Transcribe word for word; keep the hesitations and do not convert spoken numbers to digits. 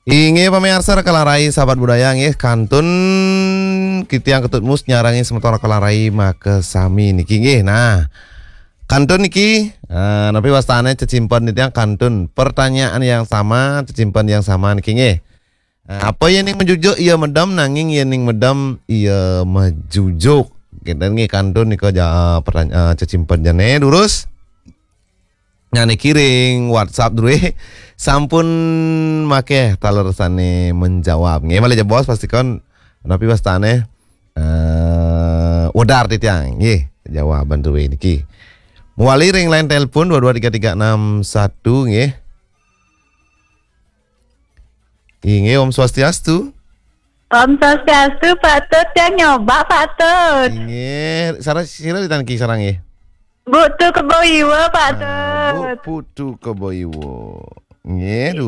Inggih pamiarsa Raka Larai sahabat budaya nggih, kantun titiang Ketut Mus nyarengin semeton Raka Larai makasami niki nggih. Nah, kantun niki, eh, napi wastane cecimpen titiang kantun pertanyaan yang sama, cecimpen yang sama niki nggih. Eh, apa yening majujuk iya medem, nanging yening medem iya majujuk. Kinten nggih kantun nika ja, pertanya-, eh, cecimpen jane durus. Nah, niki ring WhatsApp druwe sampun makeh taler sane menjawab. Nggih, malih jebos pastikon napi wastane, eh, wedar titiang. Nggih, jawaban druwe niki. Mawali ring line telepon dua dua tiga tiga enam satu nggih. Inggih, Om Swastiastu. Om Swastiastu, Pak Tut, tiang nyoba, Pak Tut. Inggih, sira, sira ditaniki sareng nggih. Bu Tu Kebo Iwa, Pak Tut. Ah, Bu Putu Kebo Iwa. Nggih,